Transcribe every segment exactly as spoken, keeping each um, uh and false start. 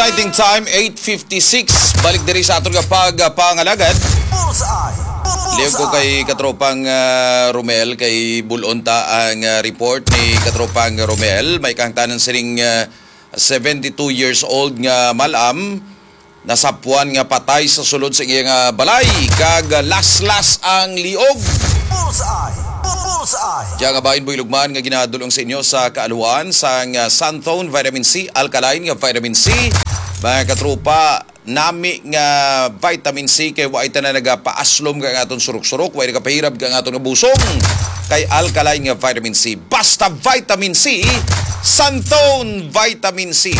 Exciting time, eight fifty-six. Balik diri sa aton nga pagpangalagad. Bullseye! Liog ko kay katropang, ah, Romel, kay bulon ta ang, ah, report ni katropang Romel. May kahangtanan sining, ah, seventy-two years old nga mal-am nasapwan nga patay sa sulod sa iya nga balay kag laslas ang liog. Bullseye! Bullseye! Diya nga bahin, Boy Lugman, nga ginadulong sa inyo sa kaaluhan sang, ah, Santhone Vitamin C, alkaline nga vitamin C. Mga katropa, nami nga vitamin C kay wa ita na nagapaaslom ka ang aton surok-surok, wa nagapahirab ka ang aton nga busong kay alkaline nga vitamin C. Basta vitamin C, Santhone Vitamin C.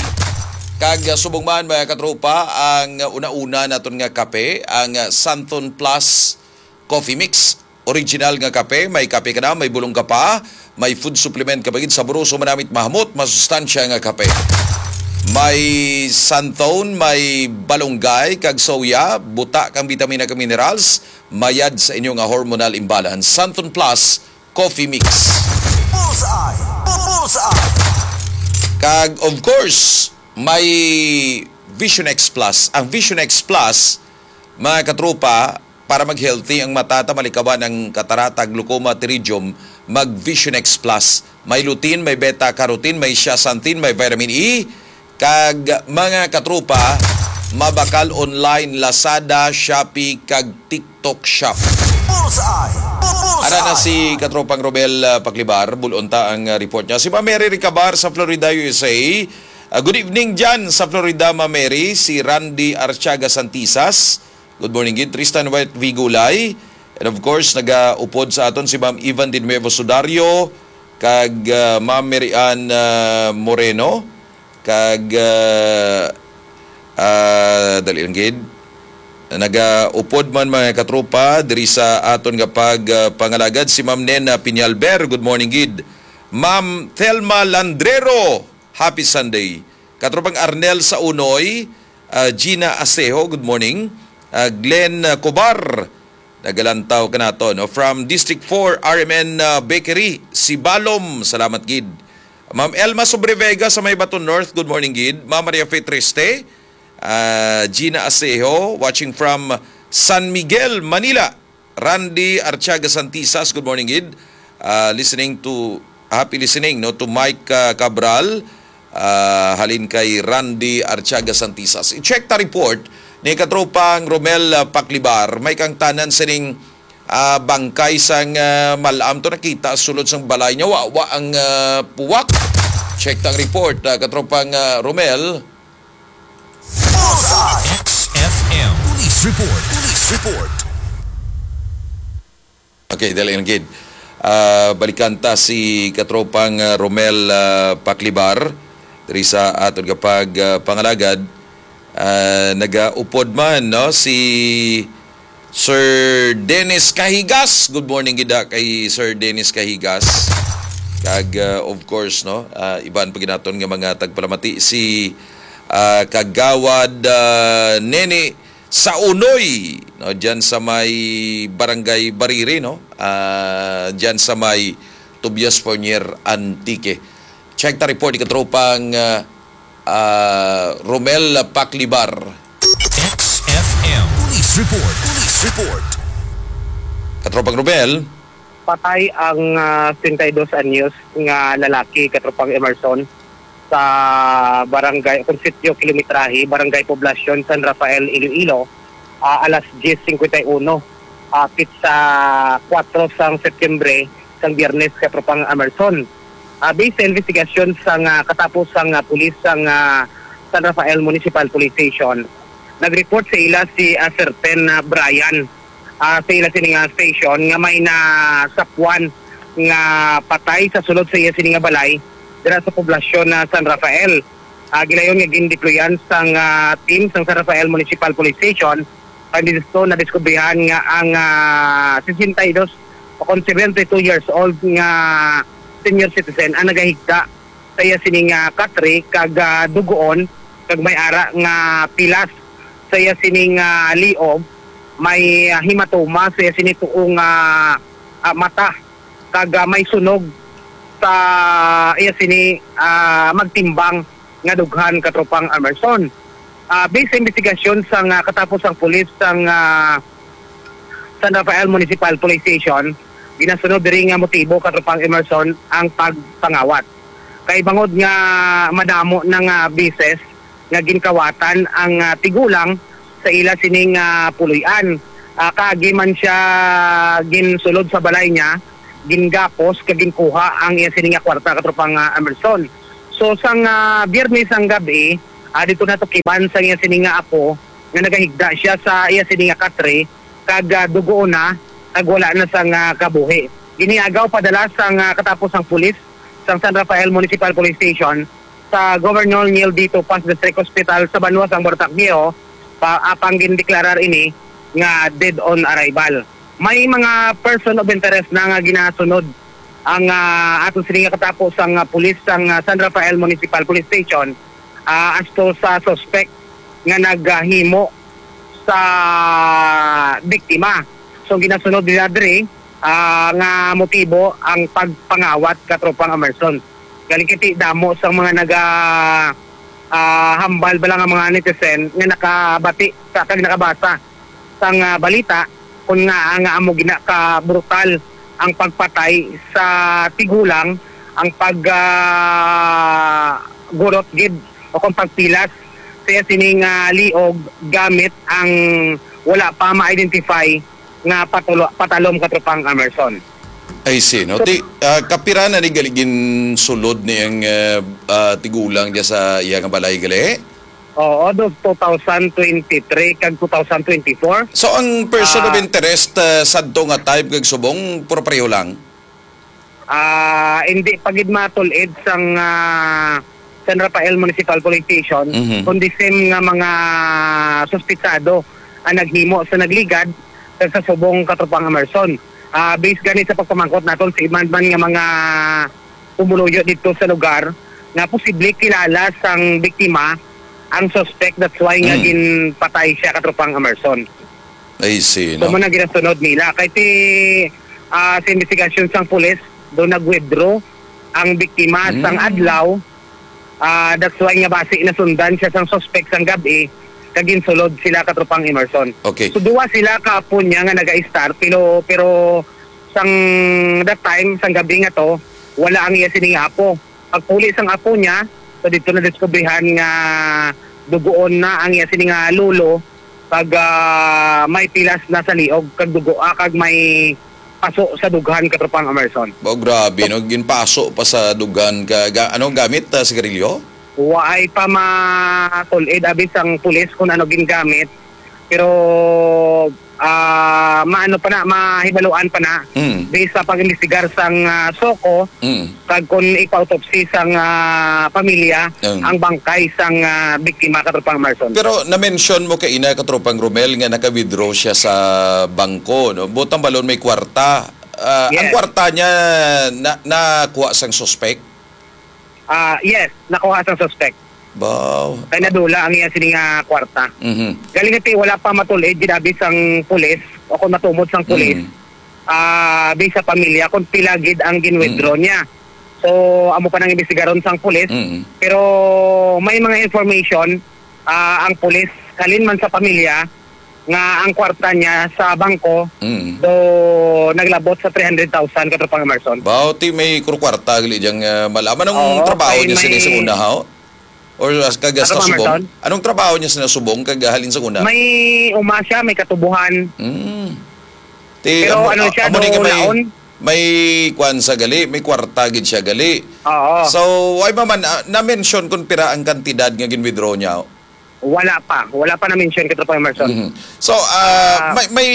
Kag, ah, subong man, mga katropa, ang una-una naton nga kape, ang, ah, Santhon Plus Coffee Mix. Original nga kape, may kape ka na, may bulong ka pa, may food supplement ka pa gid, saboroso, manamit, mahamot, masustansya nga kape. May Santhon, may balunggay, kag soya, buta kang bitamina kag minerals, mayad sa inyo nga hormonal imbalance. Santhon Plus Coffee Mix. Bullseye! Bullseye! Kag, of course, may Vision X Plus. Ang Vision X Plus, mga katropa, para mag-healthy ang mata, ta malikawan ang katarata, glaucoma, pterygium, mag Vision X Plus. May lutein, may beta carotene, may zeaxanthin, may vitamin E, kag mga katropa, mabakal online, Lazada, Shopee, kag TikTok Shop. Bullseye! Bullseye! Ara na si katropang Romel, ah, Paklibar, bulon ta ang, ah, report niya. Si Ma'am Mary Ricabar sa Florida, U S A. Ah, good evening dyan sa Florida, Ma'am Mary. Si Randy Arciaga Santisas. Good morning gid, Tristan White Vigulay. And of course, nagaupod sa aton si Ma'am Evan de Nuevo Sudario, kag, ah, Ma'am Mary Ann, ah, Moreno, kag, ah, ah, dali lang gid. Nagaupod man, mga katropa, diri sa aton nga pag, ah, pangalagad si Ma'am Nena Piñalber. Good morning gid. Ma'am Thelma Landrero, happy Sunday. Katropang Arnel Saunoy, ah, Gina Asejo, good morning. Ah, Glenn, ah, Cobar, nagalantaw kanato, no? From District four, R M N, ah, Bakery, Sibalom, salamat gid. Ma'am Elma Sobrevega sa may Baton North, good morning gid. Ma'am Maria Fe Triste, ah, Gina Asejo, watching from San Miguel, Manila. Randy Artiaga Santisas, good morning gid. Ah, listening to, happy listening, no, to Mike, ah, Cabral, ah, halin kay Randy Artiaga Santisas. I-check ta report ni katropang Romel, ah, Paklibar. May kahangtanan sining, ah, bangkay sang, ah, mal-am to nakita sulod sang balay niya. Wa, wa ang, ah, puwak. Check ta ang report, ah, katropang, ah, Romel. Bullseye! X F M Police Report. Police Report. Okay, dali lang gid. Ah, balikan ta si katropang, ah, Romel, ah, Paklibar diri sa aton nga pag, ah, pangalagad. Ah, nagaupod man, no, si Sir Dennis Cahigas. Good morning gid, ah, kay Sir Dennis Cahigas. Kag, ah, of course, no, ah, iban pa gid naton nga mga tagpalamati, si, ah, Kagawad, ah, Nene Saunoy, no, diyan sa may Barangay Bariri, no, ah, diyan sa may Tobias Fornier, Antique. Check ta report ni katropang, ah, ah, Romel Paklibar. X F M Police Report. Police Report. Katropang Romel. Patay ang, ah, singkay dos anyos nga lalaki, katropang Emerson, sa barangay, kung sitio Kilometrahe, Barangay Poblacion, San Rafael, Iloilo, ah, alas diyes singkwenta y uno, ah, pitsa kuwatro sang Setyembre, sang Biyernes, katropang Emerson. Ah, based sa investigasyon sang, ah, katapos sang, ah, pulis sang, ah, San Rafael Municipal Police Station, nag-report sa ila si, ah, Sir Ten, ah, Brian, ah, sa ila sini nga station nga may nasapwan nga patay sa sulod sa iya sini nga balay dira sa poblasyon na San Rafael. Ah, gilayon nga gindeployan sang, ah, team sang San Rafael Municipal Police Station, kay disto nadiskubrihan nga ang, ah, sesenta y dos o kon seventy-two years old nga senior citizen ang nagahigda sa iya sining, ah, katre kag, ah, dugoon, kag may ara nga pilas sa iya sining, ah, liob, may, ah, hematoma sa iya sini tuong, ah, ah, mata, kag, ah, may sunog sa iya sini, ah, magtimbang nga dughan, katropang Emerson. Ah, based sa investigasyon sang, ah, katapos sang pulis sang, ah, San Rafael Municipal Police Station, ginasunod diri nga motibo, Katropang Emerson, ang pagpangawat. Kay bangod nga madamo na nga beses nga ginkawatan ang, ah, tigulang sa ila sining, ah, puloy-an. Ah, kaagi man siya ginsulod sa balay niya, gingapos kag ginkuha ang iya sini nga kwarta, Katropang, ah, Emerson. So, sang, ah, Biyernes ang gab-i, ah, dito natukiban sang iya sini nga apo nga nagahigda siya sa iya sini nga katre, kag, ah, dugoon na, kag wala na sang, ah, kabuhi. Giniagaw padala sang, ah, katapos sang pulis sang San Rafael Municipal Police Station sa Governor Neil D. Topas District Hospital sa banwa sang Moratak Viejo, pa, apang gindeklarar ini nga dead on arrival. May mga person of interest na nga ginasunod ang, ah, ato sini nga katapos ang, ah, pulis sang, ah, San Rafael Municipal Police Station, ah, as to sa suspect nga naghimo sa biktima. So, ginasunod nila diri, ah, nga motibo ang pagpangawat, Katropang Emerson. Galing kiti damo sang mga naga, ah, hambal bala nga mga netizen nga nakabati sa kag nakabasa sang, ah, balita kung nga, nga amo gina ka brutal ang pagpatay sa tigulang, ang pag, ah, gurot gid o kung pagpilas sa iya sining, ah, liog gamit ang wala pa ma-identify nga patulo-, patalom, Katropang Emerson. I see, no? So, ti, ah, kapira na ni gali ginsulod ni ang, ah, ah, tigulang diya sa iya nga balay gali? Oo, do two thousand twenty-three kag two thousand twenty-four. So, ang person of Ah. interest, ah, sadto nga time kag subong, puro pareho lang? Ah, hindi pa gid matulid sang, ah, San Rafael Municipal Police Station, Mhm. kundi same nga mga suspitsado ang naghimo sa nagligad sa, sa subong, Katropang Emerson. Ah, based gani sa pagpamangkot naton sa iban man nga mga pumuluyo dito sa lugar, nga posible kilala sang biktima ang suspect, that's why nga Mm. ginpatay siya, Katropang Emerson. I see, So, no? mo na ginasunod nila. Kay ti, ah, sa investigasyon sang pulis, do nag-withdraw ang biktima Hmm. sang adlaw. Ah, that's why nga basi nasundan siya sang suspect sang gab-i, kag ginsulod sila, Katropang Emerson. Okay. So, duwa sila ka apo niya nga naga-start, pero, pero sang that time, sang gab-i nga to, wala ang iya sini nga apo. Pagpuli sang apo niya, so dito na diskubrihan nga dugoon na ang iya sini nga lolo, kag, ah, may pilas na sa liog, kag dugo, ah, kag may paso sa dughan, Katropang Emerson. Ba, grabe, no? Ginpaso pa sa dughan ka, ga-, ano, gamit, ah, sigarilyo? Waay pa matulid, abi, sang pulis kung ano gingamit. Pero, ah, maano pa na, mahibaluan pa na. Mm. Based sa pag-imbestigar sang, ah, SOCO, Mm. kag kung ipa-autopsy sang, ah, pamilya Mm. ang bangkay sang, ah, biktima, Katropang Emerson. Pero na-mention mo kaina, Katropang Romel, nga naka-withdraw siya sa bangko, no? Buot silingon, may kwarta. Ah, ang Yes. kwarta niya na, nakuha sang suspect? Ah, yes, nakuha sang suspect. Baw. Kay nadula ang iya sini nga kwarta. Mhm. Galing iti wala pa matulid gid abi sang pulis o kung matumod sang pulis, Mm. ah, based sa pamilya kung pila gid ang gin-withdraw Mm. niya. So, amo pa nang imbestigaron sang pulis. Mm. Pero may mga information, ah, ang pulis, halin man sa pamilya, nga ang kwarta niya sa bangko Mm. do naglabot sa three hundred thousand, Katropang Emerson. Baw, ti may kuro kwarta gali diyang, ah, malaman. Anong Oo, trabaho kay niya sini may sa una, haw? Or as-, kag Ano sa pa, subong? Emerson? Anong trabaho niya sa subong kag halin sa una? May uma siya, may katubuhan. Mm. Ti, Pero amo, ano siya, amo ni do nga may, laon? may kwan sa gali, may kwarta gid siya gali. Oo. So, why ba man, ah, na-mention kung pira ang kantidad nga gin-withdraw niya? Wala pa. Wala pa na-mention, Katropang Emerson. Mhm. So, ah, Ah. may, may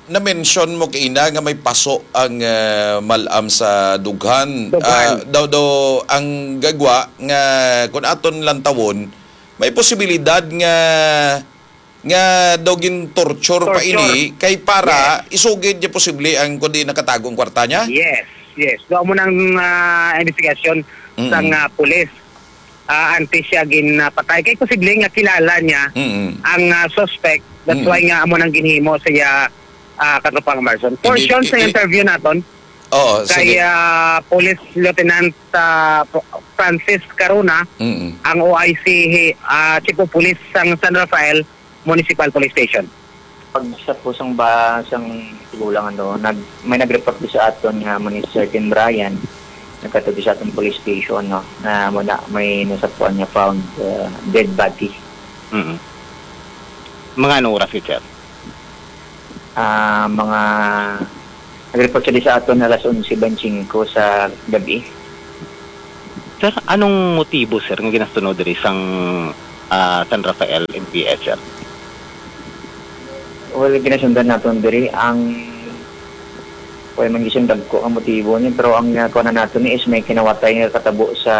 na-mention mo kaina nga may paso ang, ah, malam sa dughan. Dughan. Ah, daw, daw ang gagwa nga kung aton lantawon, may posibilidad nga, nga daw gin-torture pa Torture. ini kay para Yes. isugid niya posible ang kundi nakatago ang kwarta niya? Yes, yes. Daw mo nang, ah, investigasyon Mm. sang, ah, pulis. Ah, antes siya ginpatay. Kay posible nga kilala niya Mm. ang, ah, suspect. That's Mm. why nga amo nang ginhimo sa iya, ah, Katropang Emerson. Portion Hindi, sa hindi. interview naton. Oo, kay, sige. Ah, Police Lieutenant, ah, Francis Carona, Mm-mm. ang O I C, ah, Chief of Police sang San Rafael Municipal Police Station. Pag sa pusong ba sang tigulang, ano, nag-, may nag-report di sa aton nga mo ni Sir Tim Brian, nagkatod sa aton police station, no, na mo na may nasapuan nga found, uh, dead body. Mm. Mga ano oras gid, sir? Ah, mga nag-report sila sa aton alas onse twenty-five sa gabi. Sir, anong motibo, sir, nga ginasunod diri sang, ah, San Rafael M P S, sir? Well, ginasundan naton diri ang, wala man gising dagko ang motibo ni, pero ang, ah, kuha na nato ni is may kinawatay nga katabo sa,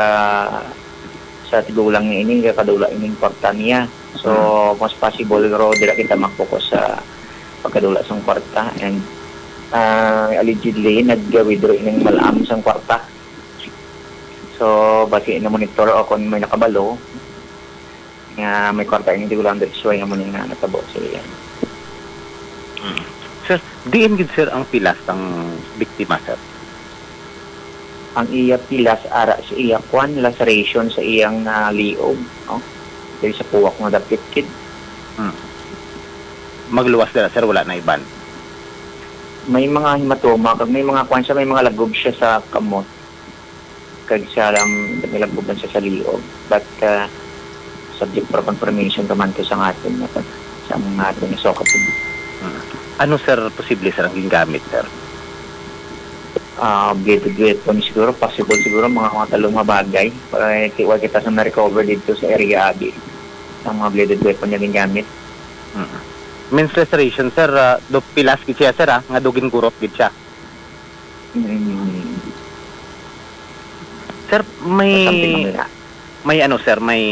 sa tigulang ni ini, nga kadula ining kwarta niya. So, Mm. mas possible, pero dira kita mag-focus sa pagkadula sang kwarta. And, ah, allegedly, nag-withdraw ining malam sang kwarta. So, basi na-monitor o kung may nakabalo nga may kwarta ining tigulang, that's why amo ni nga natabo sa iya. Mm. Sir, diin gid, sir, ang pilas sang biktima, sir? Ang iya pilas ara sa iya kwan, laceration sa iyang, ah, liog, no? Diri sa puwak nga dapit gid. Hmm. Magluwas dira, sir, wala na iban? May mga hematoma, kag may mga kwan siya, may mga lagob siya sa kamot. Kag sa lam-, may lagob man siya sa liog. But, ah, subject for confirmation pa man to sa aton nga pag-, sa mga aton nga sukat. Hmm. Ano, sir, posible, sir, ang gingamit, sir? Ah, bladed weapon siguro, possible siguro, mga, mga talong nga bagay. Para ki-, wala kita sa na-recover dito sa area, abi. Ang mga bladed weapon nga gingamit. Mm. Means laceration, sir, ah, do pilas gid siya, sir, ah, nga do gingurot gid siya. Mm. Sir, may, something like that. May ano, sir, may,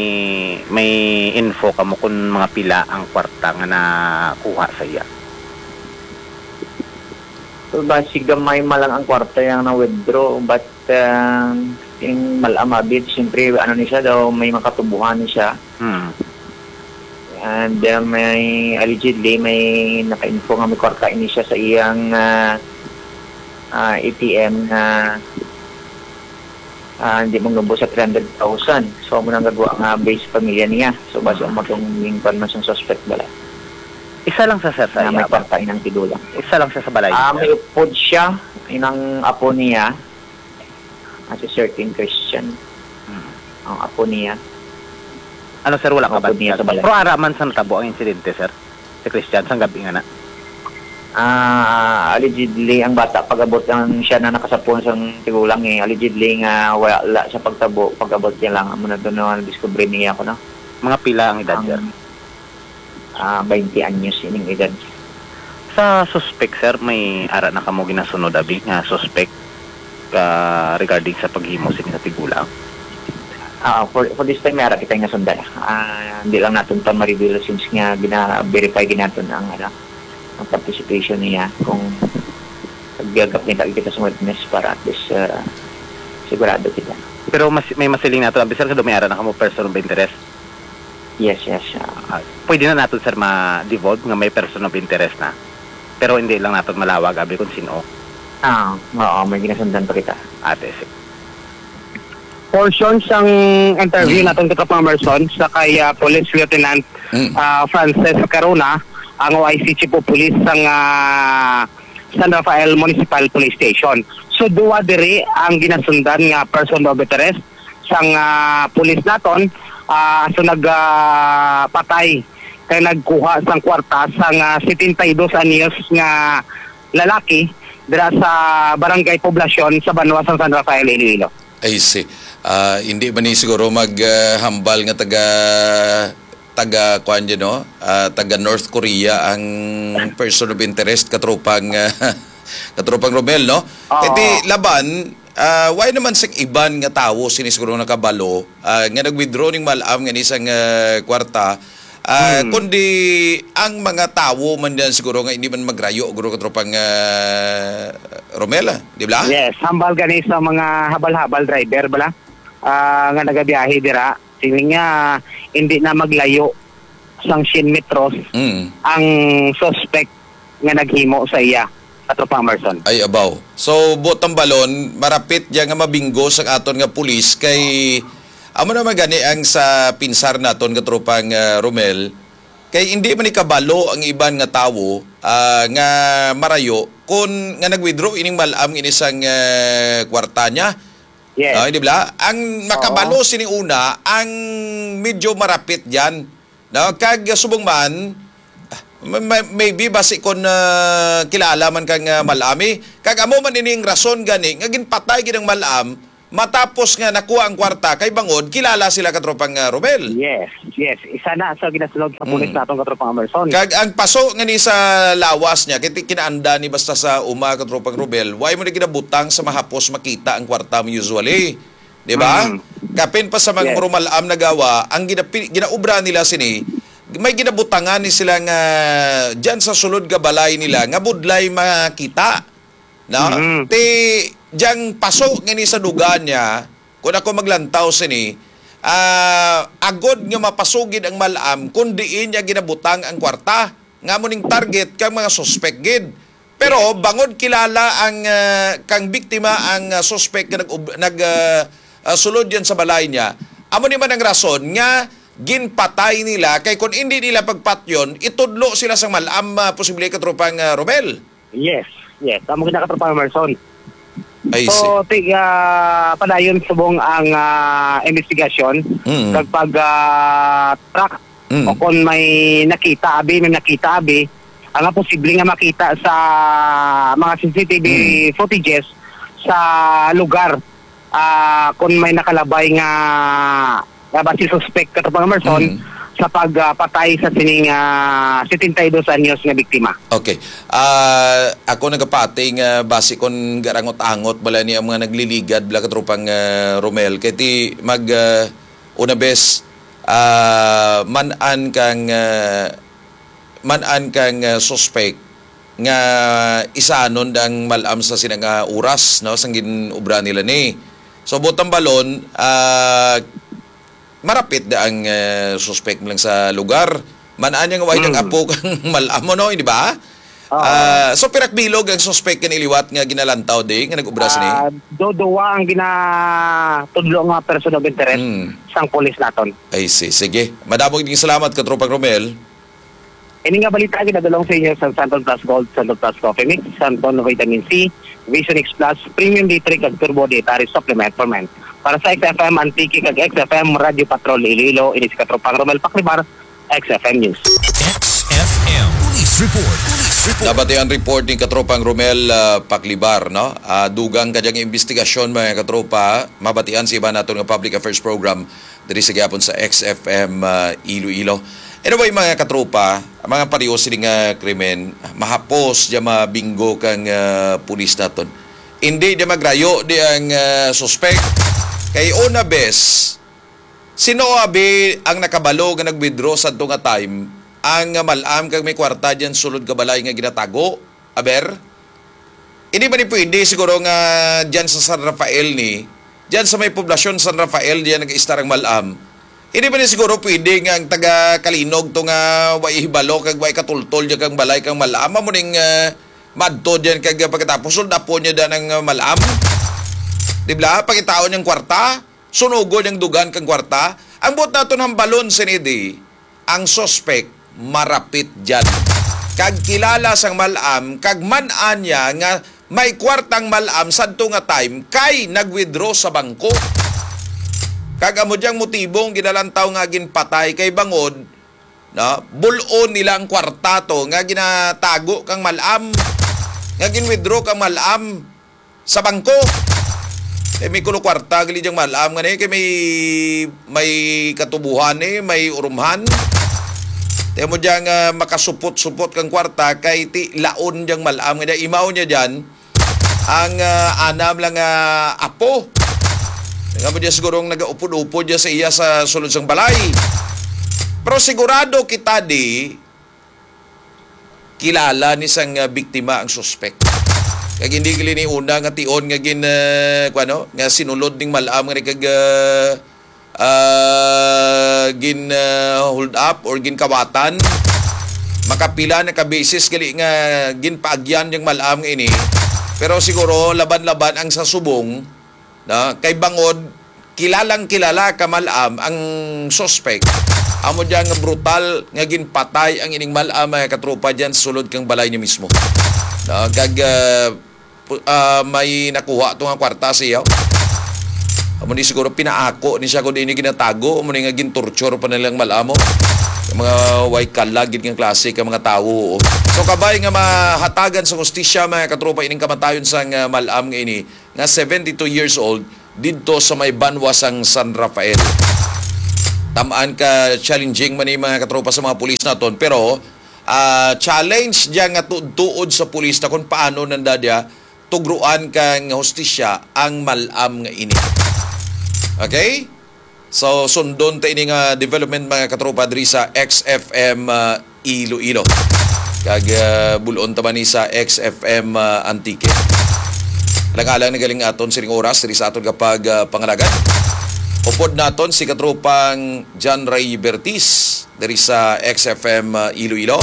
may info kamo kung mga pila ang kwarta nga nakuha sa iya? Well, basi gamay man lang ang kwarta yang na-withdraw, but, ah, yung malam abi, siyempre, ano ni siya daw, may makatubuhan ni siya. Hmm. And, ah, may, allegedly, may naka-info nga may kwarta ini siya sa iyang, ah, ah, A T M nga, ah, hindi mangnubo sa three hundred thousand. So, amo nang gagwa nga base pamilya niya. So, basi, hmm, amo tong ginkuan man sang suspect bala. Isa lang sa, sir, sa iya, may kwarta inang tigulang. Isa lang siya sa balay, sir? Ah, may upod siya, inang apo niya, as a certain Christian. Hmm. Ang apo niya. Ano, sir, wala ka ba niya sa balay? Pero ara man sa natabo ang insidente, sir? Si Christian, sang gabi nga na. Ah, allegedly, ang bata, pag-abot lang siya na nakasapon sang tigulang, eh. Allegedly nga wala sa pagtabo, pag-abot niya lang, amo na to na discovery niya ako, no? Mga pila ang edad, sir? Ang, ah, twenty anyos ining edad. Sa suspect, sir, may ara na kamo ginasunod, abi, nga suspect ka regarding sa paghimo sini sa tigulang? Ah, for, for this time, may ara kita nga sundan. Ah, hindi lang naton pa ma-reveal since nga gina-verify gid naton ang, ano, ang participation niya kung nagagap kita, kita sa witness para at least, ah, sigurado kita. Pero mas, may masiling nato, abi, sir, kung may ara na kamo person of interest? Yes, yes, ah. Ah, pwede na naton, sir, ma-devolve nga may person of interest na. Pero hindi lang naton malawag, abi, kung sino. Ah, oo, may ginasundan pa kita. Ate, sir. Portion sang interview Mm. naton, Katropang Emerson, sa kay, ah, Police Lieutenant, Mm. ah, Frances Carona, ang O I C Chief of Police sang, ah, San Rafael Municipal Police Station. So, duwa diri ang ginasundan nga person of interest sang, ah, pulis naton, ah, so nag, ah, patay kay nagkuha sang kwarta sang, ah, setenta y dos anyos nga lalaki dira sa Barangay Poblacion sa banwa sang San Rafael, Iloilo. I see. Ah, hindi man ni siguro mag, ah, hambal nga taga, taga, kuwan dyan, no? Ah, taga North Korea ang person of interest, katropang, ah, katropang Romel, no? Oo. Kay ti laban, ah, why naman sa iban nga tawo sini siguro nakabalo, ah, nga nag-withdraw ning malam nga ni sang, ah, kwarta, ah, Hmm. kundi ang mga tawo man dyan siguro nga hindi man magrayo, guro, katropang, ah, Romel, ah, di ba? Yes, hambal gani sa mga habal-habal driver, bala, ah, nga nagabiyahe dira. Siling niya, hindi na maglayo sang cien metros Mm. ang suspect nga naghimo sa iya. Katropang Emerson. Ay, abaw. So, buot hambalon, marapit dyan nga mabinggo sang aton nga pulis kay amo naman gani ang sa pinsar naton, Katropang, ah, Romel, kay hindi man ikabalo ang iban nga tawo, ah, nga marayo kun nga nag-withdraw ining mal-am ini sang, ah, kwarta niya. Yes. Ah, di ba? Ang makabalo Oo. sini una, ang medyo marapit dyan. No? Kag subong man, ah, may, may, maybe basi kon, ah, kilala man kang, ah, mal-ami. Kag amo man ini ang rason gani nga ginpatay gid ang mal-am matapos nga nakuha ang kwarta kay bangod kilala sila, Katropang, ah, Romel. Yes, yes. Isa na sa ginasunod sa pulis Mm. naton, Katropang Emerson. Kag ang paso nga ni sa lawas niya, kay ti-, kinaanda ni basta sa uma, Katropang Romel, why mo na ginabutang sa mahapos makita ang kwarta mo usually? Di ba? Mm. Kapin pa sa mga Yes. marumal-am nagawa, ang ginapi-, ginaubra nila sini, may ginabutangan ni sila nga dyan sa sulod nga balay nila nga budlay makita. No? Mm. Ti, diyang paso nga ni sa dugan niya, kung ako maglantaw sini, ah, agod nga mapasugid ang mal-am kung diin niya ginabutang ang kwarta, nga mo ning target kang mga suspek gid. Pero bangod kilala ang, ah, kang biktima ang, ah, suspek nga nag-, nag-, ah, ah, sulod yan sa balay niya, amo ni man ang rason nga ginpatay nila, kay kung hindi nila pagpatyon, itudlo sila sa mal-am, ah, posible, Katropang, ah, Romel. Yes, yes. Amo gid na, Katropang Emerson. I see. So, ti-, ah, padayon subong ang, ah, investigasyon Mm. kag pag, ah, track Mm. o kung may nakita abi, may nakita abi, ang posible nga makita sa mga C C T V Mm. footages sa lugar, ah, kung may nakalabay nga, nga basi suspect, Katropang Emerson, Mm. sa pag, ah, patay sa sining, ah, setenta y dos anyos nga biktima. Okay. Ah, ako nagapati nga basi kon garangot-angot bala ni ang mga nagliligad bala, Katropang, ah, Romel. Kay ti mag, ah, una bes, ah, man-an kang, ah, man-an kang, ah, suspect nga isanon ang mal-am sa sina nga oras, no, sang gin-obra nila ni. So, buot hambalon, ah, marapit na ang, ah, suspect lang sa lugar. Man-an niya nga way Mm. nang apo kang mal-am mo, no, di ba? Oo. Ah, so, pirak bilog ang suspect nga niliwat nga ginalantaw di, nga nag-obra sini? Ah, do-, duwa ang ginatudlo nga person of interest Mm. sang pulis naton. I see. Sige. Madamo gid salamat, Katropang Romel. Ini nga balita ginadulong sa inyo sa Santon Plus Gold, Santon Plus Coffee Mix, Santon Vitamin C, Vision X Plus, Premium D three, kag Turbo Dietary Supplement for Men. Para sa X F M Antique kag X F M Radio Patrol Iloilo, ini si Katropang Romel Paklibar, X F M News. X F M Police Report. Police Report. Nabatian report ni Katropang Romel, ah, Paklibar, no? Ah, dugang ka diyang investigasyon, mga katropa, mabatian sa iba naton nga public affairs program diri sa gihapon sa X F M, ah, Iloilo. Anyway, mga katropa, ang mga pareho sini nga krimen, mahapos diya mabinggo kang, ah, pulis naton. Hindi diya magrayo di ang, ah, suspek. Kay una bes, sino abi ang nakabalo nga nag-withdraw sadto nga time ang, ah, mal-am kag may kwarta diyan sulod ka balay nga ginatago? Aber? Hindi ba ni pwede siguro nga dyan sa San Rafael ni, dyan sa may poblasyon San Rafael, dyan nag-istar ang mal-am? Hindi ba ni siguro pwede nga ang taga Kalinog to nga way hibalo kag way katultol dyan kang balay kang mal-am? Amo ning, ah, madto dyan kag pagkatapos suldapo niya dyan ang, ah, mal-am? Di ba? Pangitaon niyang kwarta? Sunugon ang dugan kang kwarta? Ang buot naton hambalon, Senedi, ang suspek marapit dyan. Kag kilala sang mal-am, kag man-an niya nga may kwartang mal-am sadto nga time kay nag-withdraw sa bangko. Kag amo diyang motibong ginalantaw nga ginpatay kay bangod, no, bul-on nila ang kwarta to nga ginatago kang mal-am, nga gin-withdraw kang mal-am sa bangko. Eh, may kuno kwarta gali diyang mal-am nga ni, kay may, may katubuhan ni, may urumhan. Tiyan mo diyang, ah, makasupot-supot kang kwarta kay ti laon diyang mal-am nga niya. Imaw niya diyan ang, ah, anam lang nga apo. Nga mo diya siguro ang nagaupod-upod diya sa iya sa sulod sang balay. Pero sigurado kita di kilala ni sang, ah, biktima ang suspek. Kag hindi gali ni una nga tion nga gin, ah, kuwano, nga sinulod ning mal-am nga ni kag, ah, ah, gin, ah, hold up or ginkawatan. Makapila na ka beses gali nga ginpaagyan yung malam nga ini. Pero siguro laban-laban ang sa subong, no? Kay bangod kilalang kilala ka malam ang suspect. Amo diyan nga brutal nga ginpatay ang ining malam, mga katropa, diyan sa sulod kang balay niya mismo. No? Kag ah, pu- ah, may nakuha to nga kwarta siya. Amo ni siguro pinaako ni siya kung di ni ginatago, amo ni nga gintorture pa nilang malamo. Ang mga way kalagid nga klase ka mga tawo. So kabay nga mahatagan sa hustisya, mga katropa, ining kamatayon sang ah, malam nga ini nga seventy-two years old didto sa may banwa sang San Rafael. Tamaan ka challenging man ni mga katropa sa mga pulis naton, pero ah, challenge diya nga tuod-tuod sa pulis na kung paano nanda diya tugruan kang hustisya ang malam nga ini. Okay? So, sundon ta ini nga development, mga katropa, diri sa X F M ah, Iloilo. Kag ah, bulon ta man ni sa X F M ah, Antique. Alang-alang na galing aton sining oras diri sa aton kapag ah, pangalagan. Upod naton si katropang John Ray Bertis diri sa X F M ah, Iloilo.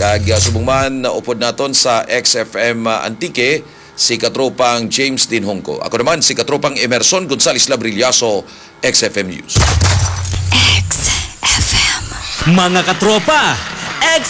Kag ah, subong man, upod naton sa X F M ah, Antique si katropang James Dinhongco. Ako naman si katropang Emerson Gonzales Labrillaso, X F M News. X F M. Mga katropa,